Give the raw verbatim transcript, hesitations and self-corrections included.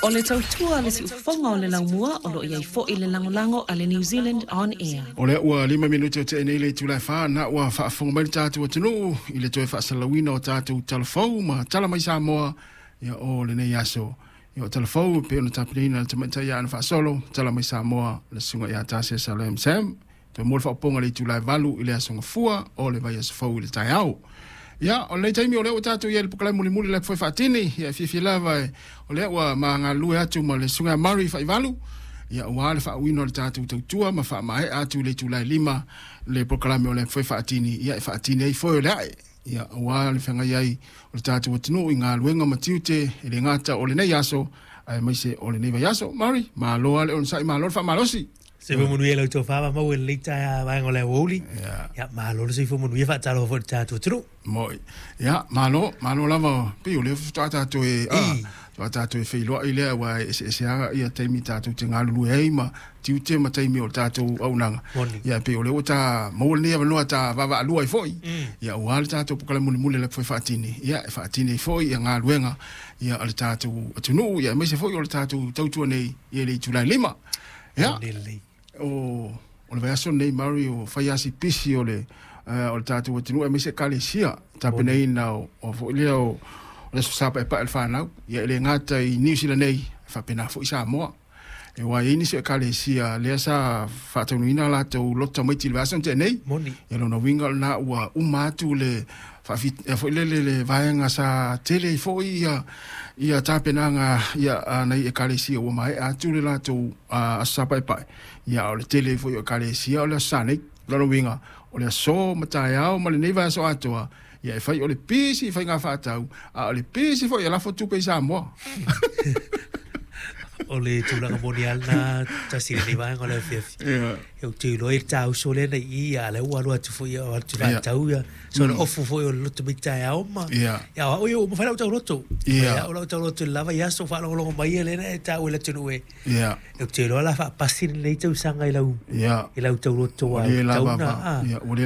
O le tautua le siufofoga o le laumua o loo iai foi le lagolago a le New Zealand On Air. O lea ua lima minute o tea nei le itula e fa, na ua faafofoga mai le tatou atunuu i le toe faasalalauina o tatou talafou ma tala mai Samoa ia o lenei aso. Ia o talafou e pei ona tapenaina le tamaitai ia Ana Faasolo, tala mai Samoa le susuga ia Tasia Salem Sam. Toe mo le faaopoopoga i le itula e valu i le aso Gafua o le vaiaso fou i le taeao. Ia, o lenei taimi o lea ua tatou i ai i le polokalame mulimuli le foe faatini, ia e fiafia lava e, o lea ua ma galulue atu ma le susuga ia Murray Faivalu, ia ua le faauiina o le tatou tautua ma faamaea atu i le itula e lima le polokalame o le foe faatini, ia e faatini ai foe o le ae. Ia ua le feagai ai o le tatou atunuu i galuega ma tiute e le gata o lenei aso, aemaise o lenei vaiaso. Murray, malo lava le onosai, malo le faamalosi. Soifua manuia lau tofa ma maua i lenei taeao vaega o le aoauli. Ia. Ia, malo le soifua manuia, faatalofa foi i le tatou atunuu. Moi. Ia, malo, malo lava, pei o lea faatoa tatou e, a, Ei. faatoa tatou e feiloai lea, aua e eseese lava ia taimi tatou te galulue ai ma tiute ma taimi o le tatou auaunaga. Moni. Ia, pei o lea ua ta maua lenei avanoa ta vaavaalua ai foi. Mm. Ia, aua le tatou polokalame mulimuli le foe faatini, ia, e faatini ai foi ia galuega, ia, a le tatou atunuu, ia, aemaise foi o le tatou tautua nei, ia, i le itula e lima. Ia, Moni lelei. o, o le vaiaso lenei, Murray, o fai asi pisi o le, uh, o le tatou atunuu, aemaise ekalesia tapenaina o, o foi lea o, o le aso Sa paepae o le fanau. Ia e le gata i New Zealand nei, faapena foi Samoa. E ua i ai nisi o ekalesia lea sa faataunuina latou loto tamaiti i le vaiaso na tea nei. Moni. Ia lona uiga o lena ua uma atu le faafi- ia foi lele le vaega sa tele ai foi ia, ia tapenaga ia a nai ekalesia ua maea atu le latou uh, aso Sa paepae. Ia o le tele ai foi o ekalesia o le aso Sa nei. Lona uiga o le aso ma taeao ma lenei vaiaso atoa, ia e fai o le pisi i faiga faatau, a o le pisi foi e lafo tupe i Samoa. O le tulaga moni lava lena tasi i lenei vaega o le afiafi. Ia. E ou te iloa i le tāuso lea na i i, a lea ua alu atu foi ia, o atu Ia. faatau ia. So le ofu foi o le loto mai taeao ma. Ia. Ia, o au ia ua mafai lau tauloto. Ia. Ia, o lau tauloto i le lava i aso faalogologo mai ia lea na e taua i le atunuu e. Ia. E ou te iloa la faapasi lenei tausaga i lau Ia. i lau tauloto Ua a le lava tauna. va- Ah. ia, ua le